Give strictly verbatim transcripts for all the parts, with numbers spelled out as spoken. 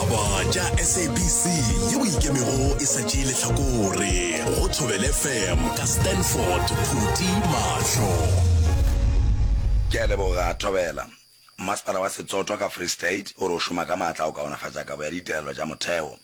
Ditaba tša S A B C yeo ikemego e sa tšee lehlakore go Thobela F M ka Stanford Phuti Mahlo. Ke a leboga, Thobela. Masepala wa Setsoto ka Free State o re o šoma ka maatla go kaonafatša kabo ya ditirelo tša motheo.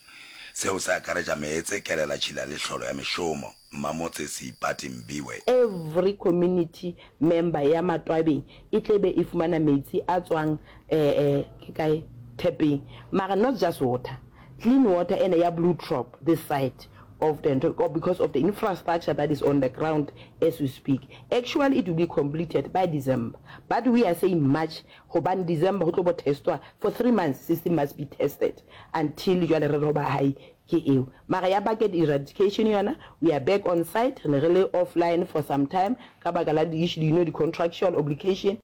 Seo se akaretša meetse, kelela tšhila le hlolo ya mešomo. Mmamotse Seipati Mbiwe. Every community member ya Matwabeng e tle be e fumana metsi a tswang eh ke kae tap-eng, mara not just water, clean water ena ya Blue Trop this side of the ntho, because of the infrastructure that is on the ground as we speak. Actually, it will be completed by December, but we are saying March hobane December ho tlo bo testwa for three months. System must be tested until jwale re re hoba hai ke eo. Mara ya bucket eradication yona, we are back on site. Re ne re le offline for some time ka baka la di-issue, you know di-contractual obligation.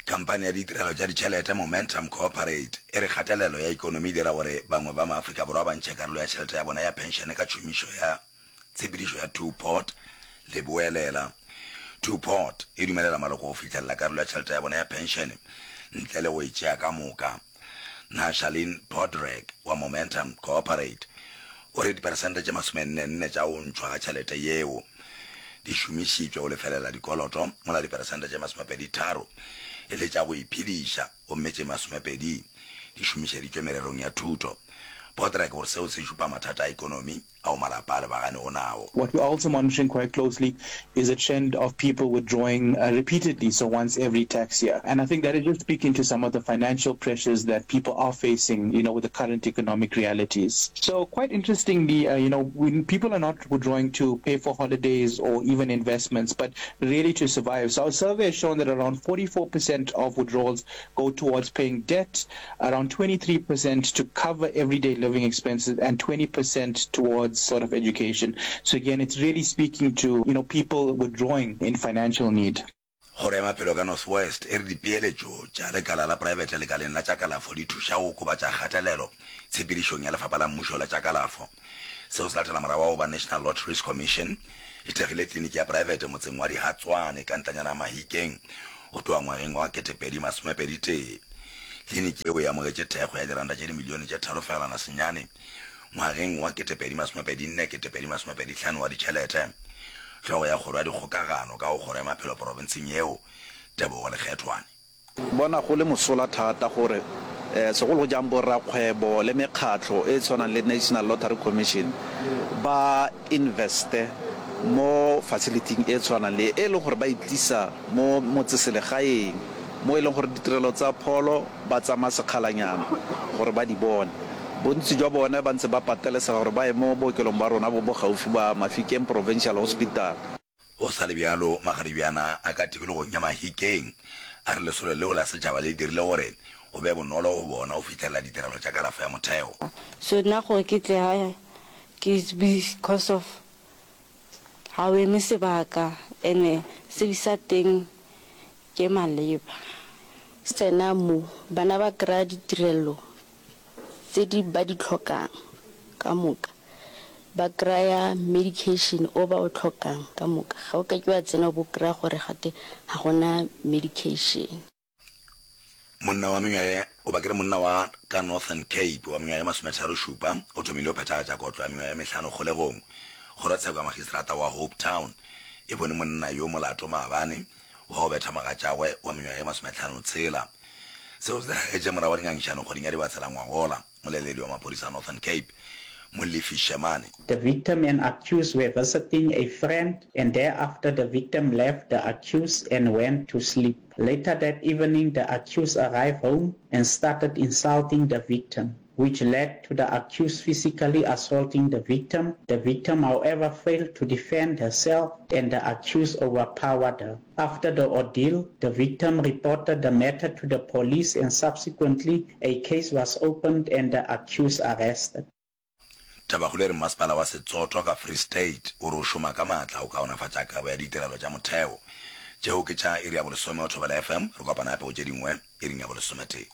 Khamphani ya ditirelo tša ditšhelete Momentum Corporate e re kgatelelo ya ekonomi e dira gore bangwe ba maAfrika Borwa ba ntšhe karolo ya tšhelete ya bona ya phenšene ka tšhomišo ya tshepedišo ya two-pot leboelela. Two-pot e dumelela maloko go fihlelela karolo ya tšhelete ya bona ya phenšene ntle le go e tšea ka moka. Nashalin Podrek wa Momentum Corporate o re diperesente tše masomenne-nne tša go ntšhwa ga tšhelete yeo di šomišitšwe go lefelela dikoloto, mola diperesente tše masomepedi-tharo e le tša go iphediša gomme tše masomepedi di šomišeditšwe mererong ya thuto. Podrek o re seo se šupa mathata a ekonomi ao malapa a lebaganego nao. What we're also monitoring quite closely is a trend of people withdrawing repeatedly, so once every tax year. And I think that is just speaking to some of the financial pressures that people are facing, you know, with the current economic realities. So quite interestingly, uh, you know, when people are not withdrawing to pay for holidays or even investments, but really to survive. So our survey has shown that around forty-four percent of withdrawals go towards paying debt, around twenty-three percent to cover everyday living expenses, and twenty percent towards sort of education. So again, it's really speaking to, you know, people withdrawing in financial need. Kgoro ya Maphelo ka North West e re dipeeletšo tša lekala la praebete lekaleng la tša kalafo di thuša go okobatša kgatelelo tshepedišong ya lefapha la mmušo la tša kalafo. Seo se latela morago wa go ba National Lotteries Commission e thekgile kliniki ya praebete motseng wa Dihatswane ka ntlanyana ya Mahikeng go tloga ngwageng wa ketepedi masomepedi tee. Kliniki yeo e amogetše thekgo ya diranta tše dimilione tše tharo fegelwana senyane ngwageng wa ketepedi masomepedi nne ketepedi masomepedi hlano wa ditšhelete. Hlogo ya kgoro ya dikgokagano ka go kgoro ya maphelo porofenseng yeo, Tebogo Lekgethwane. Bona go le mosola thata gore segolo jang borrakgwebo le mekgatlho e e tshwanang le National Lottery Commission ba investe mo facility-ing e tshwanang le e e leng gore ba e tlisa mo motseselegaeng mo e leng gore ditirelo tsa pholo ba tsamaya sekgalanyana gore ba di bone. Bontsi jwa bone ba ntse ba patelesega gore ba ye mo bookelong ba rona bo bo gaufi ba Mafikeng Provincial Hospital. Go sa le bjalo, magaribjana a ka tikologong ya Mahikeng a re lesolo leo la setšhaba le dirile gore go be bonolo go bona go fihlelela ditirelo tša kalafo ya motheo. So nna gore ke tle gae ke because of ga o eme sebaka ene service ya teng ke maleba. Tsena mo, bana ba kry-a ditirelo tse di ba di tlhokang ka moka, ba kry-a medication o ba o tlhokang ka moka. Ga o ka ke wa tsena o bo kry-a gore gate ga gona medication. Monna wa mengwaga goba ke re monna wa ka Northern Cape wa mengwaga e masometharo šupa o thomile go phethagatša kotlo ya mengwaga e mehlano kgolegong. Kgorotsheko ya Magistrata wa Hopetown e bone monna yo molato maabane wa go betha mogatšagwe wa mengwaga e masometlhano tshela. Seo se diragetše morago ga dingangišano kgweding ya Dibatsela ngwagola. Moleledi wa maphodisa a Northern Cape, Molefi Shemane, The victim and accused were visiting a friend and thereafter the victim left the accused and went to sleep. Later that evening, the accused arrived home and started insulting the victim, which led to the accused physically assaulting the victim. The victim, however, failed to defend herself and the accused overpowered her. After the ordeal, the victim reported the matter to the police and subsequently a case was opened and the accused arrested. Tabakgolo e re masepala wa Setsoto ka Free State o re o šoma ka maatla go kaonafatša kabo ya ditirelo tša motheo. Tšeo ke tša iri ya bolesome go Thobela F M. Re kopana gape go tše dingwe iring ya bolesometee.